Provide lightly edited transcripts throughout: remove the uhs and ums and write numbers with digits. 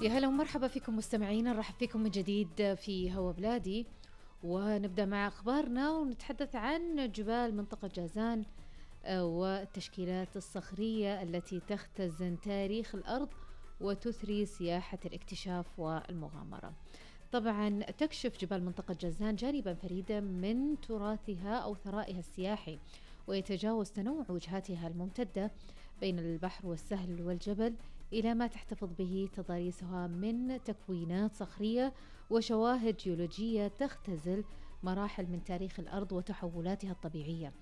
يا هلا ومرحبا فيكم مستمعينا، نرحب فيكم من جديد في هوا بلادي، ونبدأ مع أخبارنا ونتحدث عن جبال منطقة جازان والتشكيلات الصخرية التي تختزن تاريخ الأرض وتثري سياحة الاكتشاف والمغامرة. طبعا تكشف جبال منطقة جازان جانبا فريدا من تراثها أو ثرائها السياحي، ويتجاوز تنوع وجهاتها الممتدة بين البحر والسهل والجبل إلى ما تحتفظ به تضاريسها من تكوينات صخرية وشواهد جيولوجية تختزل مراحل من تاريخ الأرض وتحولاتها الطبيعية.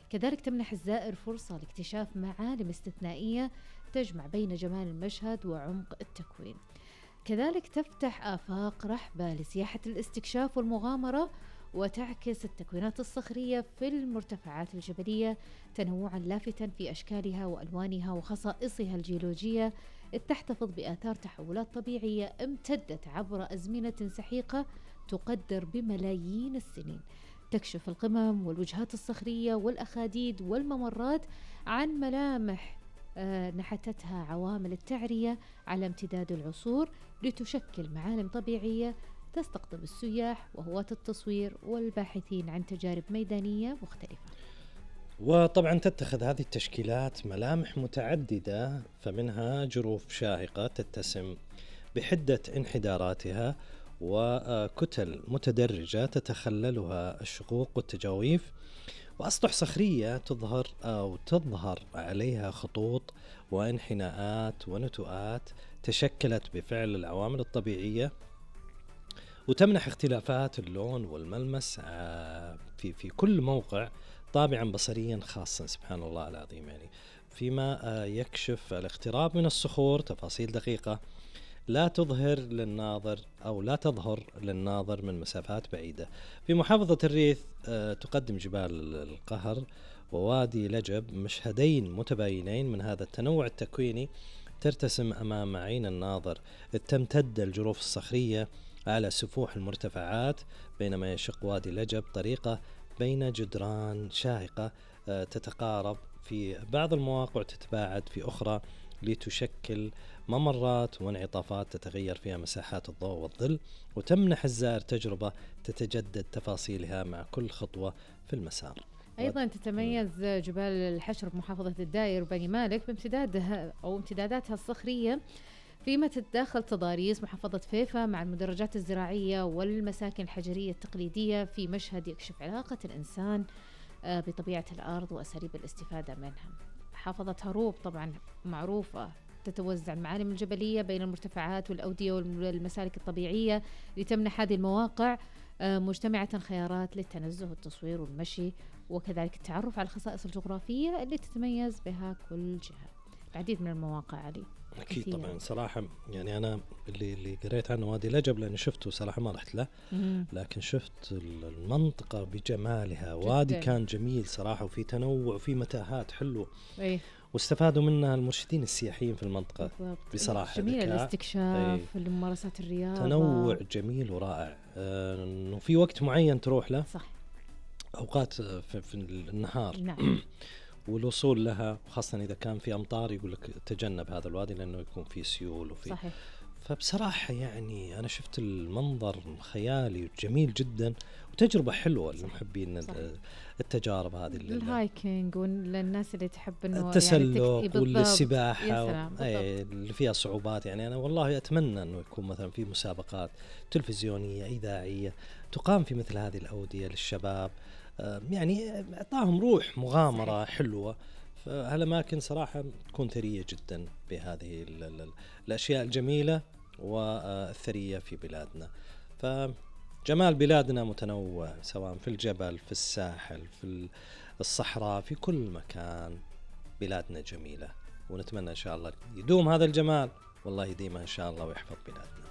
كذلك تمنح الزائر فرصة لاكتشاف معالم استثنائية تجمع بين جمال المشهد وعمق التكوين. كذلك تفتح آفاق رحبة لسياحة الاستكشاف والمغامرة، وتعكس التكوينات الصخرية في المرتفعات الجبلية تنوعا لافتا في أشكالها وألوانها وخصائصها الجيولوجية، تحتفظ بآثار تحولات طبيعية امتدت عبر أزمنة سحيقة تقدر بملايين السنين. تكشف القمم والوجهات الصخرية والأخاديد والممرات عن ملامح نحتتها عوامل التعرية على امتداد العصور لتشكل معالم طبيعية تستقطب السياح وهواة التصوير والباحثين عن تجارب ميدانية مختلفة. وطبعا تتخذ هذه التشكيلات ملامح متعددة، فمنها جروف شاهقة تتسم بحدة انحداراتها، وكتل متدرجة تتخللها الشقوق والتجاويف، وأسطح صخرية تظهر عليها خطوط وانحناءات ونتوءات تشكلت بفعل العوامل الطبيعية، وتمنح اختلافات اللون والملمس في كل موقع طابعا بصريا خاصا، سبحان الله العظيم. يعني فيما يكشف الاقتراب من الصخور تفاصيل دقيقة لا تظهر للناظر من مسافات بعيدة. في محافظة الريث تقدم جبال القهر ووادي لجب مشهدين متباينين من هذا التنوع التكويني ترتسم أمام عين الناظر، تمتد الجروف الصخرية على سفوح المرتفعات، بينما يشق وادي لجب طريقة بين جدران شاهقة تتقارب في بعض المواقع وتتباعد في أخرى، لتشكل ممرات وانعطافات تتغير فيها مساحات الضوء والظل، وتمنح الزائر تجربة تتجدد تفاصيلها مع كل خطوة في المسار. أيضا تتميز جبال الحشر بمحافظة الداير وبني مالك بامتدادها أو امتداداتها الصخرية، فيما تتداخل تضاريس محافظة فيفا مع المدرجات الزراعية والمساكن الحجرية التقليدية في مشهد يكشف علاقة الإنسان بطبيعة الأرض وأساليب الاستفادة منها. محافظة هروب طبعا معروفة، تتوزع المعالم الجبلية بين المرتفعات والأودية والمسالك الطبيعية لتمنح هذه المواقع مجتمعة خيارات للتنزه والتصوير والمشي، وكذلك التعرف على الخصائص الجغرافية اللي تتميز بها كل جهة. العديد من المواقع علي أكيد كثير. طبعا صراحة يعني أنا اللي قريت عنه وادي لجب لأنه شفته صراحة ما رحت له، لكن شفت المنطقة بجمالها، وادي كان جميل صراحة وفي تنوع وفي متاهات حلوة، واستفادوا منها المرشدين السياحيين في المنطقة بصراحة. جميل الاستكشاف الممارسات الرياضة، تنوع جميل ورائع. إنه في وقت معين تروح له، صح، أوقات في النهار. نعم. والوصول لها خاصة إذا كان في أمطار يقول لك تجنب هذا الوادي لأنه يكون فيه سيول وفي صحيح. فبصراحة يعني أنا شفت المنظر خيالي وجميل جدا، وتجربة حلوة للمحبين التجارب هذه، الهايكينج والناس اللي تحب إنه التسلق يعني والسباحة اللي فيها صعوبات. يعني أنا والله أتمنى أنه يكون مثلا في مسابقات تلفزيونية إذاعية تقام في مثل هذه الأودية للشباب، يعني أعطاهم روح مغامرة. صحيح. حلوة. فهالأماكن صراحة تكون ثرية جدا بهذه الأشياء الجميلة والثرية في بلادنا. فجمال بلادنا متنوع، سواء في الجبل، في الساحل، في الصحراء، في كل مكان بلادنا جميلة، ونتمنى إن شاء الله يدوم هذا الجمال، والله يديمها إن شاء الله ويحفظ بلادنا.